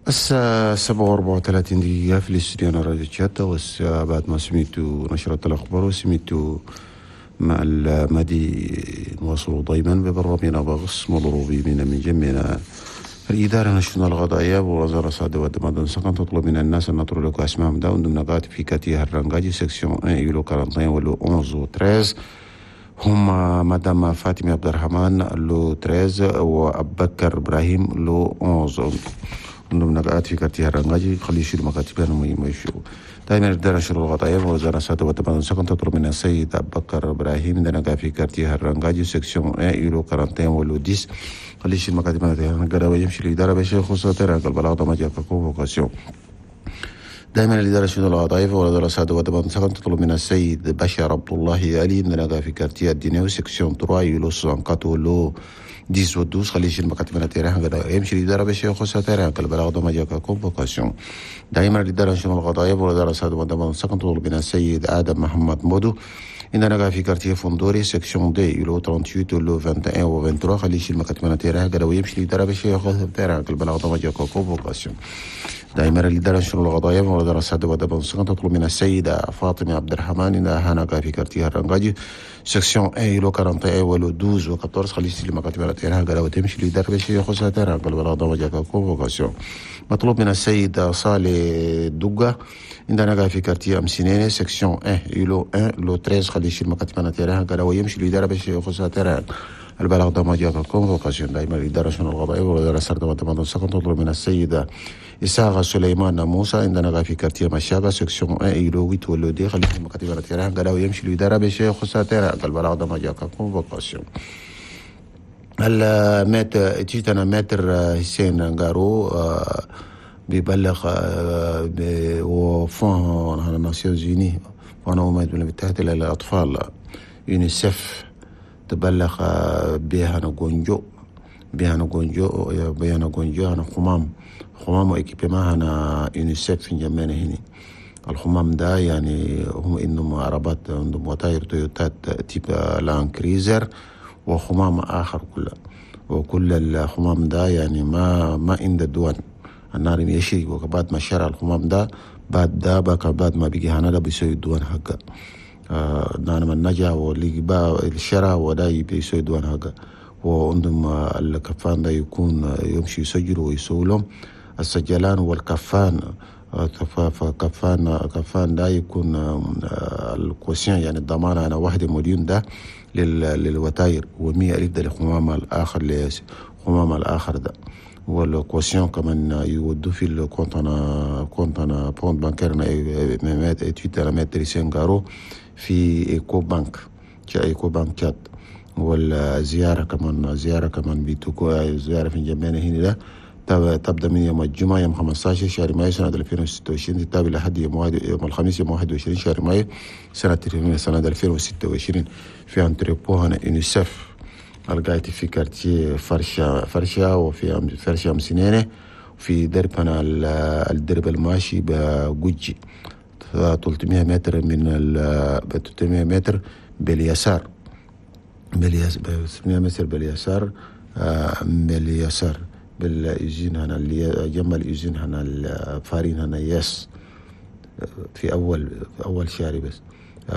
الساعة 7:34 في الاستوديو راديو تشاتا. بعد ما سمعتوا نشرة الأخبار وسمعتوا مع المادي، نواصلوا دايما ببرنامجنا بغص مضروبي من جمعنا الإدارة نشرنا الغضايا ووزارة صادة ودمادن سكن تطلب من الناس أن نطرد أسمائهم داون ضمن قاعدة في quartier الرنجاجي section 1 îlot 41 و lot 11 و 13. هم مدام فاطمة عبد الرحمن lot 13 وأبكر إبراهيم lot 11 عندهم نقاط في quartier الرنجاجي. خلي يشيلوا مكاتبهم ما يشيلوا. دائما الإدارة نشر الغضايا ووزارة صادة ودمادن سكن تطلب من السيد أبكر إبراهيم عندنا في quartier الرنجاجي section 1 îlot 41 و lot 10. خلي يشيل مكاتبنا قرا يمشي الإدارة باش يخص terrain البلاغ ما جاء convocation. دائما الإدارة شؤون الوظائف ووزارة السادة ودمان سكن تطلب من السيد بشر عبد الله علي من في quartier الدينيو section 3 îlot 64 lot 10 و 12. خلي يشيل مكاتبنا terrain قرا يمشي الإدارة باش يخص terrain البلاغ ما جاء convocation. دائما الإدارة شؤون القضايا ووزارة السادة ودمان سكن تطلب من السيد آدم محمد مودو عندنا في quartier فندوري section deux îlot 38 lot 21 و 23. خلي يشيل مكاتبنا terrain قرا ويمشي الإدارة باش يخص terrain البلاغ ما جاء convocation. دائما الإدارة شؤون القضايا ووزارة السادة ودمان سكن تطلب من السيدة فاطمة عبد الرحمن إنها هناك في quartier الرنجاجي section 1 îlot 41 و lot 12 و 14. خلي يشيل مكاتبنا terrain قرا وتمشي الإدارة باش يخص terrain البلاغ ما جاء convocation. مطلوب من السيد صالح دقة عندنا في quartier أمسينيني section 1 îlot 1 lot 13. خلي يشيل مكاتبنا terrain قرا ويمشي الإدارة باش يخص terrain البلاغ ده ما جاء convocation. دائما الإدارة شؤون القضايا ووزارة السرد والتمدن سكن تطلب من السيدة إساغة سليمان موسى عندنا في quartier مشاغة section 1 îlot 8 و lot dix. خلي يشيل مكاتبنا terrain قرا ويمشي الإدارة باش يخص terrain البلاغ ده ما جاء convocation. ال maître تيتنا maître حسين غارو بيبلغ و fonds Nations Unies fonds الأمم المتحدة للأطفال يونيسف تبلغ بها نغونجو بها نغونجو بها نغونجو هنا خمام خمام و équipement هنا يونيسف في جمعنا هنا. الخمام ده يعني هم انهم عربات عندهم وتاير تويوتات type Land Cruiser وخمام آخر كله، وكل الخمام ده يعني ما عند الدول النار يشري. وبعد ما شرى الخمام ده بعد ده بقى بعد ما بيجي هنا ده بيسوي الدوان حقه. نانا من نجا واللي با الشرى وده بيسوي الدوان حقه. وعندهم الكفان ده يكون يمشي يسجلوا ويسوي لهم السجلان والكفان. كفان ده يكون ال caution يعني الضمانة أنا 1 مليون ده للوتاير و100 ألف ده للخمام الآخر لخمام الآخر ده. وال caution كمان يودوا في ال compte أنا compte أنا compte bancaire تويتر maître سينغارو في Ecobank Ecobank تشاد. والزيارة كمان زيارة كمان بيتوكو زيارة في جنبنا هنا ده تبدأ من يوم الجمعة يوم 15 شهر مايو سنة 2026 تتابع لحد يوم الخميس يوم 21 شهر مايو سنة 2026 في entrepôt هنا يونيسف القايت في quartier فرشة فرشة وفي فرشة مسنينة في درب هنا الدرب الماشي بجوجي 300 متر من ال 300 متر باليسار 300 متر باليسار باليسار بال usine هنا اللي جنب ال usine هنا ال farine هنا يس في أول شارع بس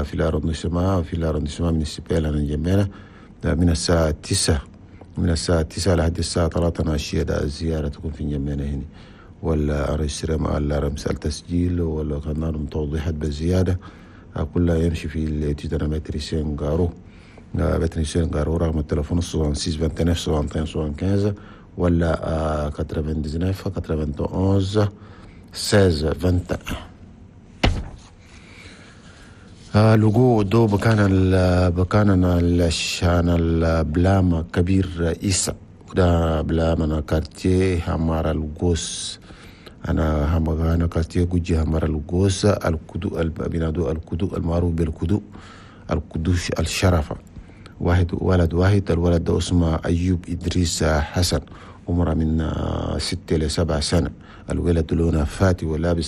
في l'arrondissement في l'arrondissement municipal هنا جنبنا من الساعة 9 من الساعة 9 لحد الساعة 3 عشية. ده الزيارة تكون في جنبنا هنا ولا رمس التسجيل ولا كان لهم توضيحات بالزيادة كلها يمشي في التيتانا maître سينغارو maître سينغارو. رقم التليفون 66 29 61 75 ولا 99 91 16 21. لقو دو بكان الشان البلامة كبير إيسا وده بلامة quartier همار القوس أنا أنا quartier جوجي همار القوس الكدو بينادو الكدو المعروف بالكدو الكدوش الشرفة. واحد ولد واحد الولد ده اسمه أيوب إدريس حسن عمره من 6 ل 7 سنة. الولد لونه فاتي ولابس